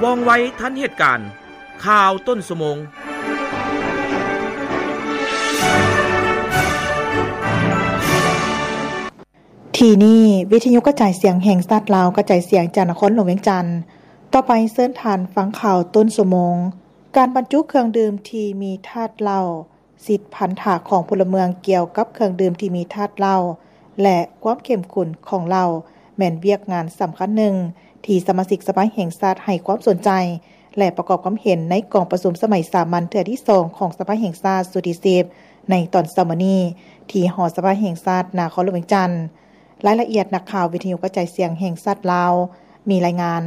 ວ່ອງໄວທັນເຫດການ. ຂ່າວຕົ້ນຊົ່ວໂມງ. ທີ່ນີ້ ວິທະຍຸກະຈາຍສຽງແຫ່ງຊາດລາວ ກະຈາຍສຽງຈາກນະຄອນຫຼວງວຽງຈັນ. ຕໍ່ໄປເຊີນທ່ານຟັງຂ່າວຕົ້ນຊົ່ວໂມງ. ການບັນຈຸເຄື່ອງດື່ມທີ່ມີທາດເຫຼົ້າ ສິດພັນທະຂອງພົນລະເມືອງກ່ຽວກັບເຄື່ອງດື່ມທີ່ມີທາດເຫຼົ້າ ແລະ ຄວາມເຂັ້ມຂຸ້ນຂອງເຫຼົ້າ ແມ່ນວຽກງານສຳຄັນໜຶ່ງທີ່ສະມາຊິກສະພາແຫ່ງຊາດໃຫ້ຄວາມສົນໃຈ ແລະ ປະກອບຄວາມເຫັນໃນກອງປະຊຸມສະໄໝສາມັນເທື່ອທີສອງຂອງສະພາແຫ່ງຊາດຊຸດທີສິບ ໃນຕອນເຊົ້າມື້ນີ້ ທີ່ຫໍສະພາແຫ່ງຊາດນະຄອນຫຼວງວຽງຈັນ. ລາຍລະອຽດ ນັກຂ່າວວິທະຍຸກະຈາຍສຽງແຫ່ງຊາດລາວ ມີລາຍງານ.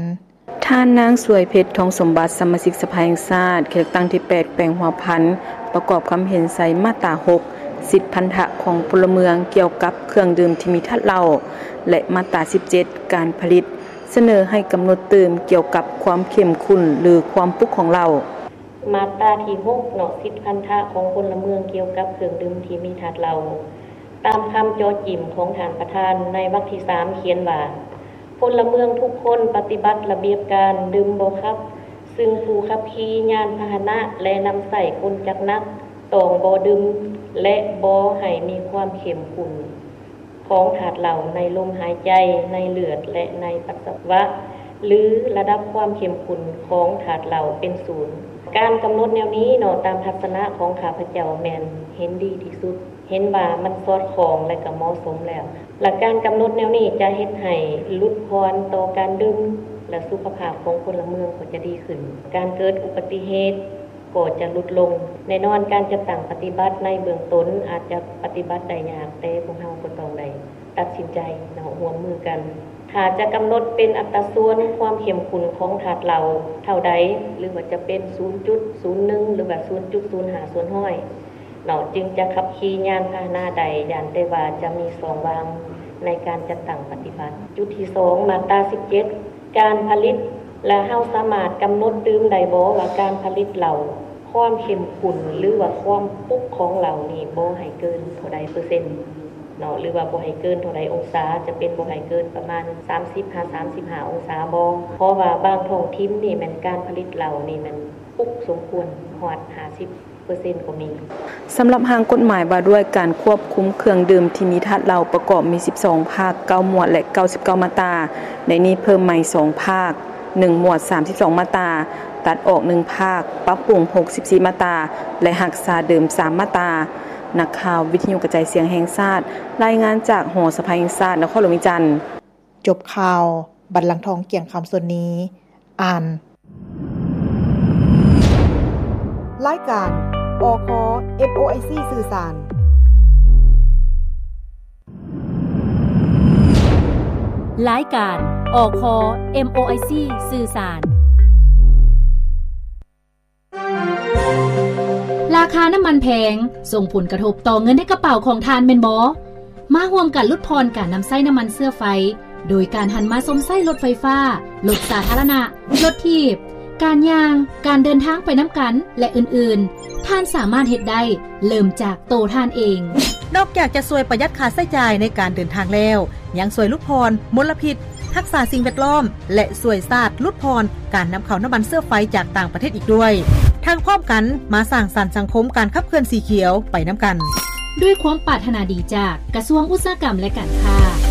ທ່ານນາງ ສວຍເພັດ ທອງສົມບັດ ສະມາຊິກສະພາແຫ່ງຊາດ ເຂດເລືອກຕັ້ງທີແປດ ແຂວງຫົວພັນ ປະກອບຄຳເຫັນໃສ່ມາດຕາຫົກ ສິດພັນທະຂອງພົນລະເມືອງກ່ຽວກັບເຄື່ອງດື່ມທີ່ມີທາດເຫຼົ້າ ແລະ ມາດຕາສິບເຈັດ ການຜະລິດ ສະເໜີໃຫ້ກຳນົດຕື່ມກ່ຽວກັບຄວາມເຂັ້ມຂຸ້ນ ຫຼື ຄວາມປຸກຂອງເຫຼົ້າ. ມາດຕາທີຫົກເນາະ ສິດພັນທະຂອງພົນລະເມືອງກ່ຽວກັບເຄື່ອງດື່ມທີ່ມີທາດເຫຼົ້າ. ຕາມຄຳເຈາະຈິມຂອງທ່ານປະທານໃນວັກທີສາມ ຂຽນວ່າ ພົນລະເມືອງທຸກຄົນປະຕິບັດລະບຽບການດື່ມບໍ່ຂັບ, ຊຶ່ງຜູ້ຂັບຂີ່ຍານພາຫະນະ ແລະ ນຳໃຊ້ກົນຈັກໜັກ ຕ້ອງບໍ່ດື່ມ ແລະ ບໍ່ໃຫ້ມີຄວາມເຂັ້ມຂຸ້ນ ຂອງທາດເຫຼົ້າໃນລົມຫາຍໃຈ, ໃນເລືອດ ແລະ ໃນປັດສະວະ ຫຼື ລະດັບຄວາມເຂັ້ມຂຸ້ນຂອງທາດເຫຼົ້າເປັນສູນ. ການກຳນົດແນວນີ້ເນາະ ຕາມທັດສະນະຂອງຂ້າພະເຈົ້າແມ່ນເຫັນດີທີ່ສຸດ, ເຫັນວ່າມັນສອດຄ່ອງ ແລະ ກໍເໝາະສົມແລ້ວ. ແລະ ການກຳນົດແນວນີ້ຈະເຮັດໃຫ້ຫຼຸດຜ່ອນຕໍ່ການດື່ມ ແລະ ສຸຂະພາບຂອງພົນລະເມືອງກໍຈະດີຂຶ້ນ. ການເກີດອຸບັດຕິເຫດ ກໍຈະຫຼຸດລົງ. ແນ່ນອນ ການຈັດຕັ້ງປະຕິບັດໃນເບື້ອງຕົ້ນອາດຈະປະຕິບັດໄດ້ຍາກ, ແຕ່ພວກເຮົາກໍຕ້ອງໄດ້ຕັດສິນໃຈເນາະ, ຮ່ວມມືກັນ. ຖ້າຈະກຳນົດເປັນອັດຕາສ່ວນຄວາມເຂັ້ມຂຸ້ນຂອງທາດເຫຼົ້າເທົ່າໃດ, ຫຼືວ່າຈະເປັນສູນຈຸດສູນໜຶ່ງ ຫຼືວ່າສູນຈຸດສູນຫ້າສ່ວນຮ້ອຍເນາະ, ຈຶ່ງຈະຂັບຂີ່ຍານພາຫະນະໄດ້, ຢ້ານແຕ່ວ່າຈະມີຊ່ອງວ່າງໃນການຈັດຕັ້ງປະຕິບັດ. ຈຸດທີສອງ ມາດຕາສິບເຈັດ ການຜະລິດ ແລະ ເຮົາສາມາດກຳນົດຕື່ມໄດ້ບໍ່ວ່າການຜະລິດເຫຼົ້າ ຄວາມເຂັ້ມຂຸ້ນ ຫຼືວ່າຄວາມປຸກຂອງເຫຼົ້ານີ້ບໍ່ໃຫ້ເກີນເທົ່າໃດເປີເຊັນເນາະ ຫຼືວ່າບໍ່ໃຫ້ເກີນເທົ່າໃດອົງສາ, ຈະເປັນບໍ່ໃຫ້ເກີນປະມານສາມສິບຫາສາມສິບຫ້າອົງສາບໍ່? ເພາະວ່າບາງທ້ອງຖິ່ນນີ້ແມ່ນການຜະລິດເຫຼົ້ານີ້ແມ່ນປຸກສົມຄວນຮອດຫ້າສິບ ເປີເຊັນກໍມີ. ສຳລັບຮ່າງກົດໝາຍວ່າດ້ວຍການຄວບຄຸມເຄື່ອງດື່ມທີ່ມີທາດເຫຼົ້າປະກອບມີສິບສອງພາກ, ເກົ້າໝວດ ແລະ ເກົ້າສິບເກົ້າມາດຕາ. ໃນນີ້ເພີ່ມໃໝ່ສອງພາກ, ໜຶ່ງໝວດ, ສາມສິບສອງມາດຕາ, ຕັດອອກໜຶ່ງພາກ, ປັບປຸງຫົກສິບສີ່ມາດຕາ ແລະ ຮັກສາເດີມສາມມາດຕາ. ນັກຂ່າວວິທະຍຸກະຈາຍສຽງແຫ່ງຊາດ ລາຍງານຈາກຫໍສະພາແຫ່ງຊາດນະຄອນຫຼວງວຽງຈັນ. ຈົບຂ່າວ, ບັນລັງທອງ ກຽງຄຳ ສ່ວນນີ້ ອ່ານ. ລາຍການ ອຄ ເອັມໂອໄອຊີ ສື່ສານ. ລາຍການ ອຄ ເອັມໂອໄອຊີ ສື່ສານ. ລາຄານ້ຳມັນແພງ ສົ່ງຜົນກະທົບຕໍ່ເງິນໃນກະເປົາຂອງທ່ານແມ່ນບໍ່? ມາຮ່ວມກັນຫຼຸດຜ່ອນການນຳໃຊ້ນ້ຳມັນເຊື້ອໄຟ ໂດຍການຫັນມາຊົມໃຊ້ລົດໄຟຟ້າ, ລົດສາທາລະນະ, ລົດຖີບ, ການຍ່າງ, ການເດີນທາງໄປນຳກັນ ແລະ ອື່ນໆ. ທ່ານສາມາດເຮັດໄດ້ ເລີ່ມຈາກໂຕທ່ານເອງ. ນອກຈາກຈະຊ່ວຍປະຢັດຄ່າໃຊ້ຈ່າຍໃນການເດີນທາງແລ້ວ, ຍັງຊ່ວຍຫຼຸດຜ່ອນມົນລະພິດ, ຮັກສາສິ່ງແວດລ້ອມ ແລະ ຊ່ວຍຊາດຫຼຸດຜ່ອນການນຳເຂົ້ານ້ຳມັນເຊື້ອໄຟຈາກຕ່າງປະເທດອີກດ້ວຍ. ທັງພ້ອມກັນມາສ້າງສັນສັງຄົມການຂັບເຄື່ອນສີຂຽວໄປນຳກັນ. ດ້ວຍຄວາມປາດຖະໜາດີຈາກກະຊວງອຸດສາຫະກຳ ແລະ ການຄ້າ.